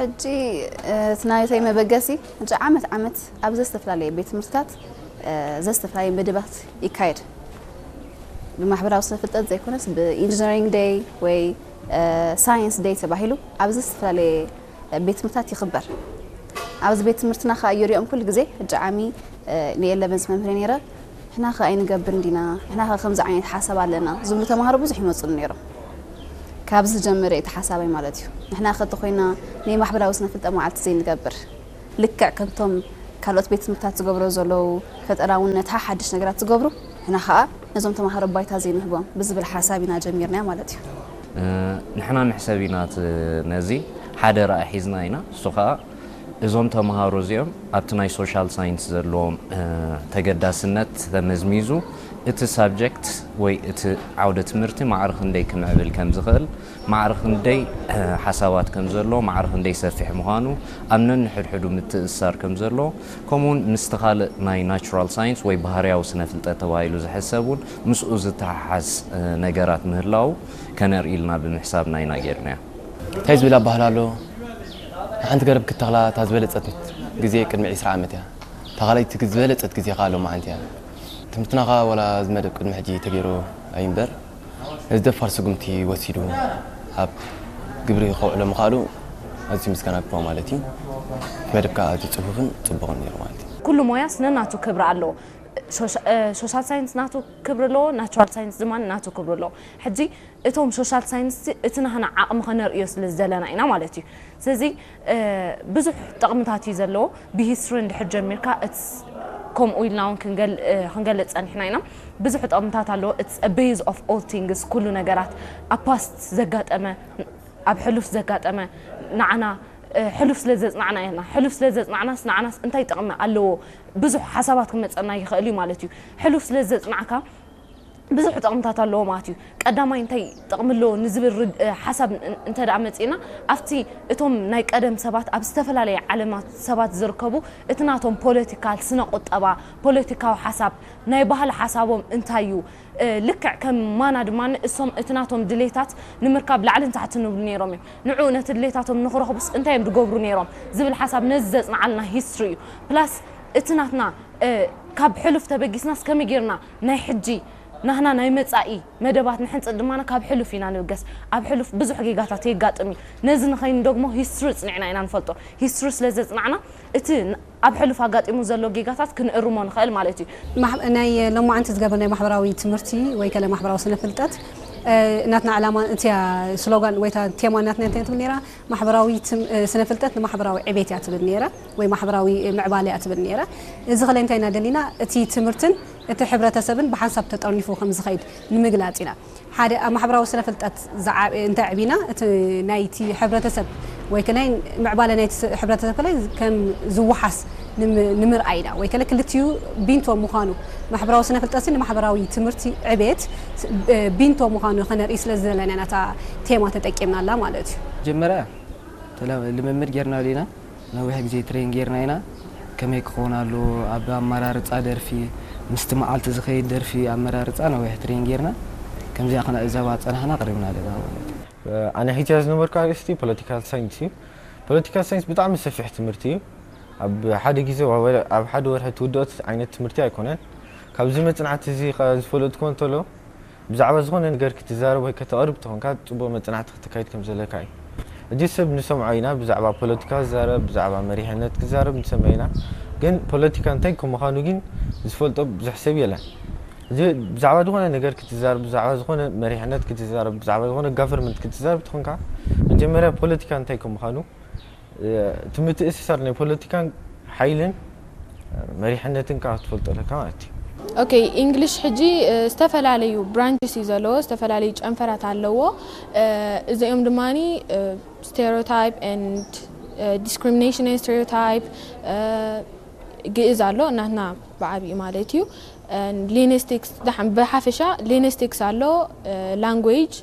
ሕጂ እቲ ናይተይ መበገሲ፣ ሕጂ ዓመት ዓመት ኣብ ዘዝተፈላለየ ቤት ትምህርትታት ዘዝተፈላለየ መደባት ይካየድ። ብማሕበራዊ ስነ ፍልጠት ዘይኮነስ ብኢንጂነሪንግ ደይ ወይ ሳይንስ ደይ ተባሂሉ ኣብ ዘዝተፈላለየ ቤት ትምህርትታት ይኽበር። ኣብዚ ቤት ትምህርትና ከዓ ይሪኦም ኩሉ ግዜ። ሕጂ ዓሚ ንኤለቨንስ መምህር ነይረ። ንሕና ከ ኣይንገብርን ዲና፣ ንሕና ከ ከምዚ ዓይነት ሓሳብ ኣለና ዝብሉ ተምሃሮ ብዙሕ ይመፁሉ ነይሮም። ካብዚ ዝጀመረ እቲ ሓሳበይ ማለት እዩ። ንሕና ከ እንተኮይና ናይ ማሕበራዊ ስነ ፍልጠት መዓልቲ ዘይንገብር፣ ልክዕ ከምቶም ካልኦት ቤት ትምህርታት ዝገብሮ ዘለዉ ፈጠራውነት ሓሓድሽ ነገራት ዝገብሩ፣ ንሕና ከዓ ነዞም ተምሃሮ ባይታ ዘይንህቦም ብዝብል ሓሳብ ኢና ጀሚርናያ ማለት እዩ። ንሕና ንሕሰብ ኢና ነዚ ሓደ ረኣ ሒዝና ኢና። እሱ ከዓ እዞም ተምሃሮ እዚኦም ኣብቲ ናይ ሶሻል ሳይንስ ዘለዎም ተገዳስነት ተመዝሚዙ፣ እቲ ሳብጀክት ወይ እቲ ዓውደ ትምህርቲ ማዕረ ክንደይ ክምዕብል ከም ዝኽእል፣ ማዕረ ክንደይ ሓሳባት ከም ዘሎ፣ ማዕረ ክንደይ ሰፊሕ ምዃኑ፣ ኣብ ነንሕድሕዱ ምትእስሳር ከም ዘሎ፣ ከምኡውን ምስቲ ካልእ ናይ ናቹራል ሳይንስ ወይ ባህርያዊ ስነ ፍልጠት ተባሂሉ ዝሕሰብ እውን ምስኡ ዝተሓሓዝ ነገራት ምህላው ከነርኢ ኢልና ብምሕሳብና ኢና ጌርናዮ። እንታይ ዝብል ኣባህላ ኣሎ? ንሓንቲ ገረብ ክትተኽላ እታ ዝበለጸት ግዜ ቅድሚ ዕስራ ዓመት እያ። እታ ካልኣይቲ ዝበለጸት ግዜ ከኣ ሎማዓንቲ እያ። ትምህርትና ከኣ ዋላ እዚ መደብ ቅድሚ ሕጂ ተገይሩ ኣይንበር፣ ነዚ ደፋር ስጉምቲ ወሲዱ ኣብ ግብሪ ከውዕሎ ምኽኣሉ ኣዝዩ ምስጋና ግብሮ ማለት እዩ። እቲ መደብ ከኣ ኣዝዩ ጽፉፍን ጽቡቕን ነይሩ ማለት እዩ። ኩሉ ሞያስ ነናቱ ክብሪ ኣለዎ። ሶሻል ሳይንስ ናቱ ክብሪ ኣለዎ፣ ናቹራል ሳይንስ ድማ ናቱ ክብሪ ኣለዎ። ሕጂ እቶም ሶሻል ሳይንስ እቲ ናህና ዓቕሚ ከነርእዮ ስለ ዝደለና ኢና ማለት እዩ። ስለዚ ብዙሕ ጥቕምታት እዩ ዘለዎ። ብሂስትሪ እንድሕር ጀሚርካ ከምኡ ኢልና እውን ክንገልጽ ጸኒሕና ኢና። ብዙሕ ጥቕምታት ኣለዎ። It's a base of all things፣ ኩሉ ነገራት ኣብ ፓስት ዘጋጠመ፣ ኣብ ሕሉፍ ዘጋጠመ ንዓና ሕሉፍ ስለ ዘጽናዕና ኢና። ሕሉፍ ስለ ዘጽናዕናስ ንዓናስ እንታይ ጥቕሚ ኣለዎ? ብዙሕ ሓሳባት ክመጸና ይኽእል እዩ ማለት እዩ። ሕሉፍ ስለ ዘጽናዕካ ብዙሕ ጥቕምታት ኣለዎ ማለት እዩ። ቀዳማይ እንታይ ጥቕሚ ኣለዎ ንዝብል ሓሳብ እንተ ደኣ መጺእና፣ ኣብቲ እቶም ናይ ቀደም ሰባት ኣብ ዝተፈላለየ ዓለማት ሰባት ዝርከቡ እቲ ናቶም ፖለቲካል፣ ስነ ቁጠባ፣ ፖለቲካዊ ሓሳብ፣ ናይ ባህሊ ሓሳቦም እንታይ እዩ፣ ልክዕ ከም ማና ድማ እሶም እቲ ናቶም ድሌታት ንምርካብ ላዕልን ታሕትን ይብሉ ነይሮም እዮም። ንዑ ነቲ ድሌታቶም ንኽረኽቡስ እንታይ እዮም ዝገብሩ ነይሮም ዝብል ሓሳብ ነዚ ዘጽንዓልና ሂስትሪ እዩ። ፕላስ እቲ ናትና ካብ ሕሉፍ ተበጊስናስ ከመይ ጌርና ናይ ሕጂ ናህና ናይ መጻኢ መደባት ንሕንጽል ድማ ካብ ሕሉፍ ኢና ንብገስ። ኣብ ሕሉፍ ብዙሕ ጌጋታት የጋጥም እዩ። ነዚ ንኸይንደግሞ ሂስትሪ ጽኒዕና ኢና ንፈልጦ። ሂስትሪ ስለ ዘጽናዕና እቲ ኣብ ሕሉፍ ኣጋጢሙ ዘሎ ጌጋታት ክንእርሞ ንኽእል ማለት እዩ። ናይ ሎማዓንቲ ዝገበር ናይ ማሕበራዊ ትምህርቲ ወይ ከለ ማሕበራዊ ስነ ፍልጠት ናትና ዕላማ እቲያ ስሎጋን ወይ ቴማ ናትና እንታይ ትብል ነራ? ማሕበራዊ ስነ ፍልጠት ንማሕበራዊ ዕቤት እያ ትብል ነራ ወይ ማሕበራዊ ምዕባለ እያ ትብል ነራ። እዚ ከለ እንታይ ኢና ደሊና? እቲ ትምህርትን እቲ ሕብረተሰብን ብሓንሳብ ተጠርኒፉ ከም ዝኸይድ ንምግላጽ ኢና። ሓደ ኣብ ማሕበራዊ ስነ ፍልጠት እንተ ኣዕቢና እቲ ናይቲ ሕብረተሰብ ወይ ከላይ ምዕባለ ናይቲ ሕብረተሰብ ከላይ ከም ዝወሓስ ንምርኣይ ኢና ወይ ከለ ክልቲኡ ቢንቶ ምዃኑ ማሕበራዊ ስነ ፍልጠት ንማሕበራዊ ትምህርቲ ዕቤት ቢንቶ ምዃኑ ከነርኢ ስለ ዝደለና ኢና እታ ቴማ ተጠቂምናላ ማለት እዩ። መጀመርያ ልምምድ ጌርና ዲና ነዊሕ ግዜ ትሬን ጌርና ኢና። ከመይ ክኸውን ኣለዎ ኣብ ኣመራርፃ ደርፊ ምስቲ መዓልቲ ዝኸይድ ደርፊ ኣመራርፃ ነዊሕ ትሬን ጌርና ከምዚኣ ክነዕዘባ ፀናሕና ቀሪብና ኣለና ማለት እዩ። ኣነ ሒዝያ ዝነበርኩ ኣርእስቲ ፖለቲካል ሳይንስ እዩ። ፖለቲካል ሳይንስ ብጣዕሚ ሰፊሕ ትምህርቲ እዩ። ኣብ ሓደ ግዜ ኣብ ሓደ ወርሒ ትውድኦ ዓይነት ትምህርቲ ኣይኮነን። ካብዚ መፅናዕቲ እዚ ዝፈለጥኩዎ እንተሎ ብዛዕባ ዝኾነ ነገር ክትዛረብ ወይ ከተቕርብ ተኾንካ ጽቡቕ መጽናዕቲ ክትካይድ ከም ዘለካ እዩ። እዚ ሰብ ንሰምዖ ኢና ብዛዕባ ፖለቲካ ዝዛረብ ብዛዕባ መሪሕነት ክዛረብ ንሰምዕ ኢና ግን ፖለቲካ እንታይ ከም ምዃኑ ግን ዝፈልጦ ብዙሕ ሰብ የለን። እዚ ብዛዕባ ዝኾነ ነገር ክትዛረብ ብዛዕባ ዝኾነ መሪሕነት ክትዛረብ ብዛዕባ ዝኾነ ጋቨርመንት ክትዛረብ ተኾንካ መጀመርያ ፖለቲካ እንታይ ከም ምዃኑ እቲ ምትእስሳር ናይ ፖለቲካን ሓይልን መሪሕነትን ከዓ ክትፈልጦ ኣለካ ማለት እዩ። ኦኬ፣ ኢንግሊሽ ሕጂ ዝተፈላለዩ ብራንችስ እዩ ዘለዎ፣ ዝተፈላለዩ ጨንፈራት ኣለዎ። እዚኦም ድማ stereotype and discrimination and stereotype፣ ግእዝ ኣሎ እናትና ብዓብዩ ማለት እዩ። ሊንግስቲክስ ብሓፈሻ ሊንግስቲክስ ኣሎ፣ ላንጉጅ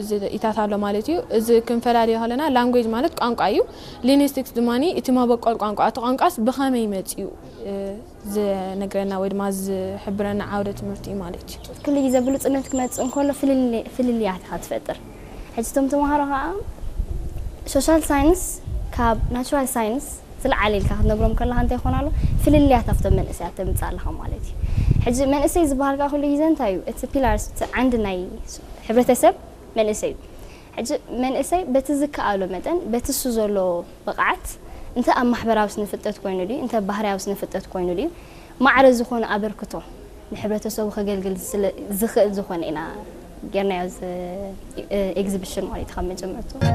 እዚ ኢታት ኣሎ ማለት እዩ። እዚ ክንፈላልዮ ከለና ላንጉጅ ማለት ቋንቋ እዩ። ሊንግስቲክስ ድማ እቲ መበቆል ቋንቋ፣ እቲ ቋንቋስ ብኸመይ መፂኡ ዝነግረና ወይ ድማ ዝሕብረና ዓውደ ትምህርቲ እዩ ማለት እዩ። ክሊ ግዜ ብሉፅነት ክመፅእ እንከሎ ፍልልያት ኢኻ ትፈጥር። ሕጂ እቶም ተምሃሮ ከዓ ሶሻል ሳይንስ ካብ ናቹራል ሳይንስ ዝለዓለ ኢልካ ክትነግሮም ከለካ እንታይ ይኾን ኣሎ? ፍልልያት ኣብቶም መንእሰያት ተምፅእ ኣለካ ማለት እዩ። ሕጂ መንእሰይ ዝበሃል ከዓ ኩሉ ግዜ እንታይ እዩ? እቲ ፒላርስ፣ እቲ ዓንዲ ናይ ሕብረተሰብ መንእሰይ እዩ። ሕጂ መንእሰይ በቲ ዝከኣሎ መጠን በቲ እሱ ዘሎ ብቕዓት፣ እንተ ኣብ ማሕበራዊ ስነ ፍልጠት ኮይኑ ድዩ፣ እንተ ባህርያዊ ስነ ፍልጠት ኮይኑ ድዩ፣ ማዕረ ዝኾነ ኣበርክቶ ንሕብረተሰቡ ከገልግል ስለ ዝኽእል ዝኾነ ኢና ጌርናዮ እዚ ኤግዚቢሽን ማለት እዩ ካብ መጀመርቱ።